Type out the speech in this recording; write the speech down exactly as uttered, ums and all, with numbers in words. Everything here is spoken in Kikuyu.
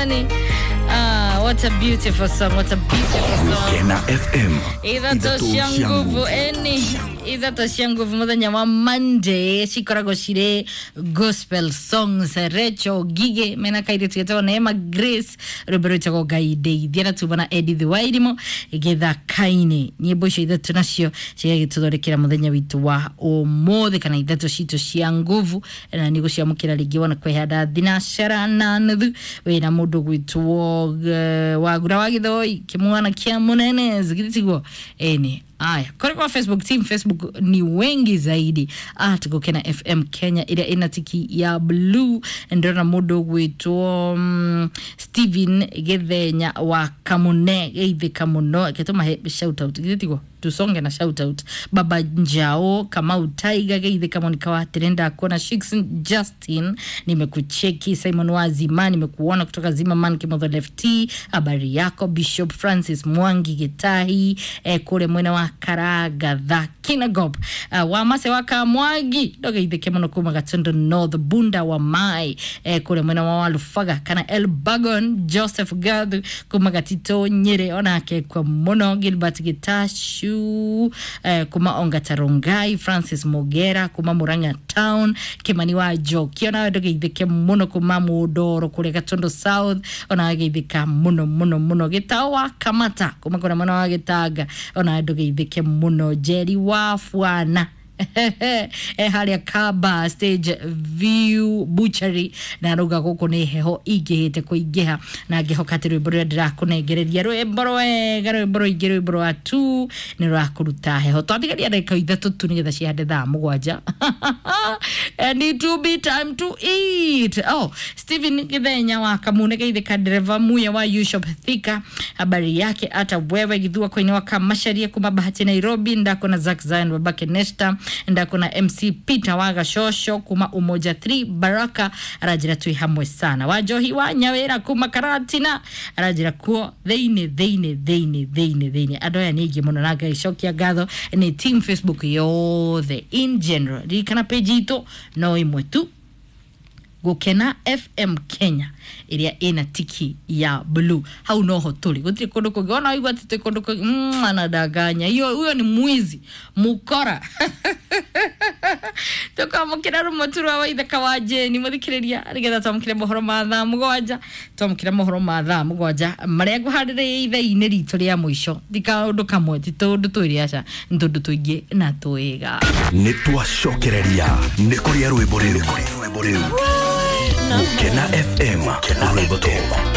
Anthony. Ah, what a beautiful song, what a beautiful song. Gukena F M Ithatũ cia nguvu eni ithatũ cia nguvu muthenya wa Monday cikoragwo cirĩ gospel songs. Rachel Gige mena kairĩtu getagwo Neema Grace, rwĩmbo rwĩtagwo Ngai ndeithia, na tuma na Edith Wairimo gĩthaka-inĩ. Nyĩmbo icio ithatũ nacio cigagĩtũthondekera mũthenya witũ wa ũmũthĩ kana ithatũ citũ cia nguvu, na nĩ gũciamũkĩra rĩngĩ wona kwĩhanda thinacara na nuthu wĩna mũndũ gwĩtwo eh, Wagura wa Gĩthoi kĩmwana kĩa mũnene zigitiguo eni. Aya, kore kwa Facebook team, Facebook ni wengi zaidi at Gukena F M Kenya ira ina tiki ya blue. Ndona mundu gwitwo um, Steven Githenya wa Kamune geithika muno ketuma he shout out githitiguo tusonge na shout out. Baba Njao Kamau Tiger geithika Monica wa Trenda kuona Shikson Justin nimekucheki, Simon Wazima nimekuona kutoka Zimmerman Kimotho Left, habari yako Bishop Francis Mwangi Gitahi eh, kule mwena wa Karagatha Kinagop uh, wa Mase wa Kamwagi ndogeithike muno kuma Gatondo North Bunda wa Mai eh, kule mwena wa Walufaga kana El Bagon Joseph Gathu kuma Gatito Nyeri onake kwa muno Gilbert Gitashu eh, kuma Ongatarongai Francis Mogera kuma Murang'a Town Kimani wa Njoki onawe ndogeithike muno kuma Mundoro kule Gatondo South onawe geithika muno muno muno Gitao wa Kamata kuma kule mwena wa Gitanga onawe ndogeithike muno Jerry wa Fwana e haria Kaba Stage View Butchery na ruga guku ni heho ingihite kuingiha na ngihoka ati rwimbo ruria ndirakunengereria rwimbo rwega rwimbo rwingi rwimbo rwa tu ni rwakuruta heho. Twatigaria ndagika ithatũ tu nigetha cihande thaa mũgwanja and it will be time to eat. Oh, Stephen Githenya wa Kamune geithika dereva muya wa U-Shop Thika habari yake hata wewe Githua koini wa Kamasharia kuma Bahati Nairobi ndako na Zack Zion babake Nesta ndako na M C Peter wa Gashosho kuma Umoja three Baraka arajira twi hamwe sana Wajohi wa Nyawira kuma Karatina arajira kuo thiini thiini thiini thiini thiini andu aya ni aingĩ mũno na ngaicokia ngatho ni team Facebook yothe in general. Ririkana page itũ no ĩmwe tu, Gukena F M Kenya iria ina tiki ya blue. Hau noho tuli gutiri kundu kungi ona waigua ati twi kundu kungi mm, anadanganya hiyo, huyo ni mwizi mukora. Tukamukira rumwe tu rwa waithaka wa Jeni muthikiriria nigetha twamukire mohoro ma thaa mugwanja twamukire mohoro ma thaa mugwanja maria nguharĩrĩria ithaa-inĩ ritũ rĩa mũico ti kaũndũ kamwe ti tũndũ twĩrĩ aca nĩ tũndũ tũingĩ na twĩga. Nĩ twacokereria nĩ kũrĩa rwĩmbo rĩu. Gukena F M rwĩmbo.